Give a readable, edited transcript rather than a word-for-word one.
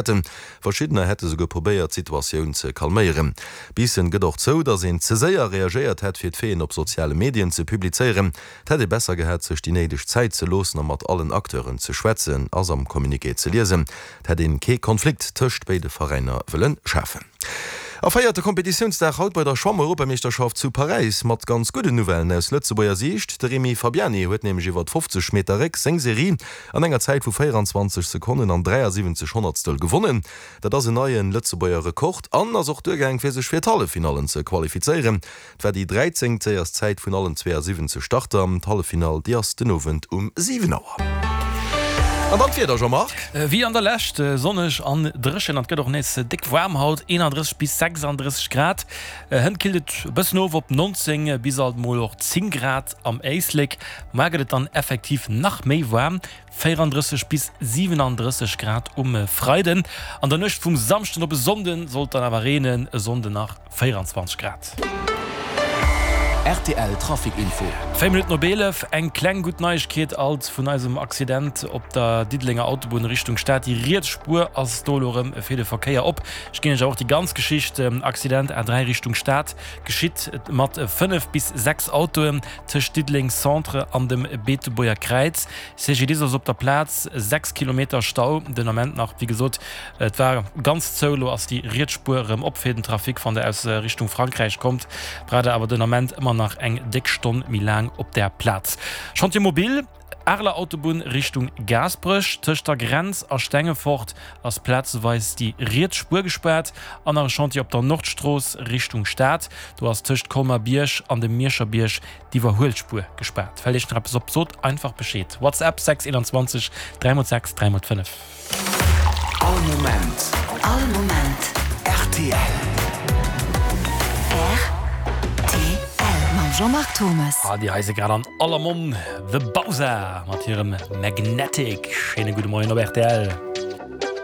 Hätten. Verschiddener hätte souguer probéiert, d'Situatioun ze calméieren. Biissen gëtt och zou, datt een ze séier reagéiert hätt, fir d'Faiten op soziale Medien ze publizéieren. Et hätt ee besser gehat, sech déi néideg Zäit ze loossen a mat allen Acteuren ze schwätzen, ass am Communiqué ze liesen. Et hätt een kee Konflikt tëscht béide Veräiner wëlle schafen. A véierte Kompetitiounsdag haut bei der Schwamm-Europameeschterschaft zu Paräis mat ganz gudden Nouvellen aus Lëtzebuerger Siicht. De Remy Fabiani huet nämlech iwwert 50 Meter Réck seng Serie an enger Zäit vu 24 Sekonnen an 73 Honnertstel gewonnen. Dat ass en neie Lëtzebuerger Rekord an ass och duergaang fir sech fir d'Halleffinallen ze qualifizéieren. Et war déi 13. séierst Zäit vun allen 72 Starter. D'Halleffinall déi ass den Owend um 7 Auer. An dann d'Wieder, Jean-Marc. Wéi an der Lescht, sonneg an dréchen an et gëtt och nees déck waarm haut, 31 bis 36 Grad. Hënt killt et e bëssen of op 19 bis alt mol och 10 Grad. Am Éislek mar gëtt et dann effektiv nach méi waarm, 34 bis 37 Grad um Freiden. An der Nuecht vum Samschden op e Sonnde soll et dann awer reenen, e Sonnden nach 24 Grad. Rtl Trafic Info. 4 Minutten op 11, Eng kleng gutt Neiegkeet alt vun eisem Accident op der Diddelenger Autobunn Richtung Stad. Déi riets Spuer ass do elo erëm fir de Verkéier op. Ech ginn Iech awer och déi ganz Geschicht, Accident A3 Richtung Stad, Geschitt mat 5 bis 6 Autoen tëscht Diddeleng Centre an dem Beetebuerger Kräiz. CGDIS ass op der Plaz, 6 Kilometer Stau den Ament nach. Wéi gesot, et war ganz zou, elo ass déi riets Spuer erëm op fir den Trafic. Wann der aus Richtung Frankräich kommt, braucht der awer den Ament ëmmer nach eng déck Stonn méi laang op där Plaz. Chantier mobile. Areler Autobunn Richtung Gaasperech, Tëscht der Grenz a Stengefort ass plazeweis déi riets Spuer gespaart an nach e Chantier op der Nordstrooss Richtung Stad. Do ass tëscht Colmer-Bierg an dem Mierscher Bierg d'Iwwerhuelspuer gespaart. Fält Iech nach eppes op, sot einfach Bescheed. WhatsApp 6 21 3 x 6 3 x 5. All Moment. All Moment. Rtl. Rtl. Mam Jean-Marc Thomas. Ah, déi hei si grad an aller Monn, The Bausa mat hirem Magnetic. Schéine gudde Moien op rtl.